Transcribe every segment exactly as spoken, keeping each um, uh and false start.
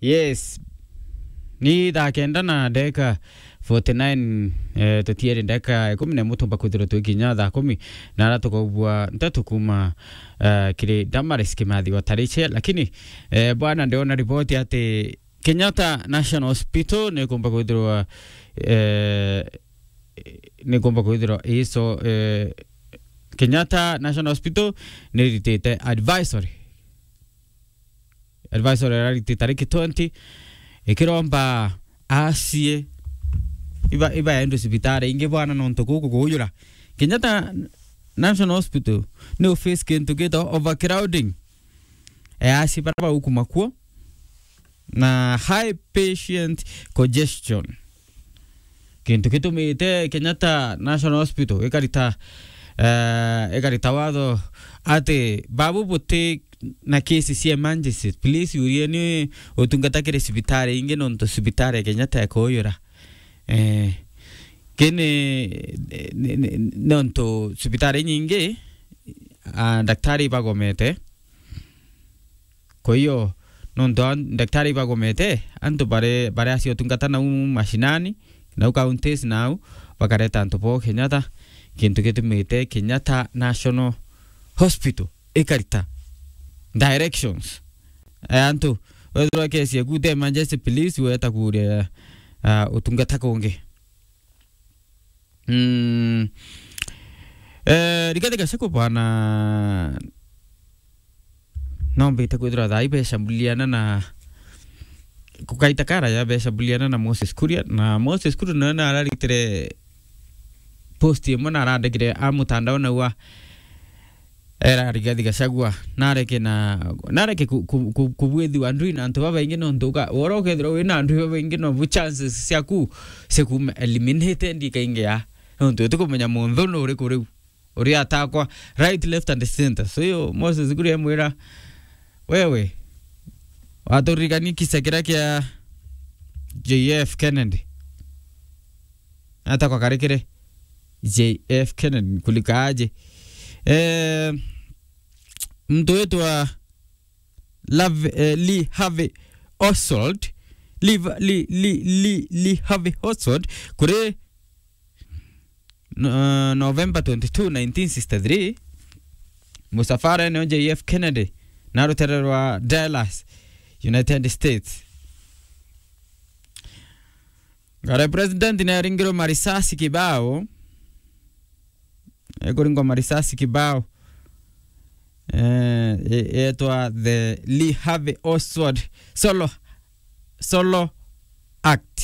Yes. Ni thaa kenda na ndagika forty nine, eh, tutieri ndagika ikumi na imwe tumba kwithirwa twi kinya thaa kumi, na ara tukaubua nteto kuma, eh, kiri Damaris Kimathi wa Tariche, lakini, eh, bwana, ndiona riboti ati Kenyatta National Hospital ni kumba kwithirwa, eh, ni kumba kwithirwa iso, eh, Kenyatta National Hospital ni ritite advisory. Advisory irariti tariki twenty, ikiromba asie iba, iba yaendwe cibitari ingi bwana, nontu guku kuujura. Kenyatta National Hospital ni uface kintu gitagwa overcrowding. E, asie bara baukuma kuo na high patient congestion. Kintu gitumite Kenyatta National Hospital ikarita, eh, ikarita watho ati babu buti na case cia emergency, please urieni utungata kiri cibitari ingi, nontu cibitari ya Kenyatta ikuujura. Eh, kini, ni, ni, nontu cibitari nyingi, ah, daktari ibagomete. Kwa hiyo, nontu a-, daktari ibagomete, antu bare, bare acio utungata nau mashinani, nau counties nau, bakareta antu bo Kenyatta, kintu gitumite Kenyatta National Hospital ikarita directions. E, antu, wethirwa kesi yaku te emergency, please, weta kuria, ah, utungata kungi. Mm. Eh, Rigathi Gachagua bwana, nombite kwithirwa thaa ibecambuliana na kukaita kara ya becambuliana na Moses Kuria, na Moses Kuria nawe nararitire post imwe na arandikire a mutandao naua era Rigathi Gachagua nareke na, nareke ku-, ku-, ku-, kubwithiwa ndui na antu babaingi, nontu uka-, wora ukethirwa wina ndui babaingi, nobu chances ciaku cia kuuma eliminated ikaingia, nontu utikumenya munthu nu uriku riu, uri atakwa right, left and center. So iyo Moses Kuria emwira, wewe, waturirikania kisa kiria kia J F Kennedy. Atakwa karikire J F Kennedy kulika aje. Eh, mtu wetu wa Lave-, eh, Lee Harvey Oswald, Lee Va-, Lee, Lee, Lee, Lee Harvey Oswald, kuri, uh, November twenty-two, nineteen sixty-three, musafara eneo J F Kennedy, na rutere rwa Dallas, United States. Ngare president ni aringirwe marisasi kibao. Ekuringwa marisasi kibao. Eh, e-, etwa the Lee Harvey Oswald Solo, Solo Act.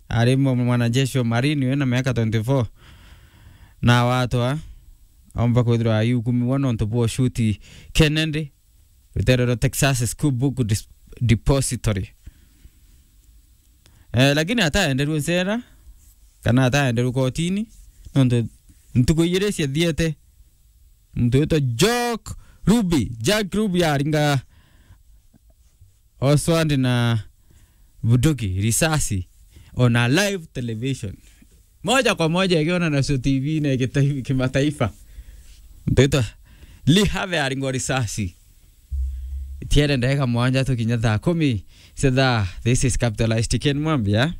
Ari mwa-, mwanajeshi wa Marine, wina miaka twenty-four. Na watwa, aumba kwithirwa aihukumiwa nontu bwa ushuti Kennedy, rutere rwa Texas School Book Dis-, Depository. Eh, lakini ataenderwe ncera, kana ataenderwe kotini, nontu ntuku ijiri ciathiete, muntu witwa Jack Ruby, Jack Ruby aringa Oswald na bunduki, risasi, on a live television. Moja kwa moja ikiona nacio T V na igitaifa-, kimataifa. Muntu witwa Lee Harvey aringwa risasi. Itiere ndagika mwanja tukinya thaa kumi cia thaa. This is Capitalized Ken Mwambia.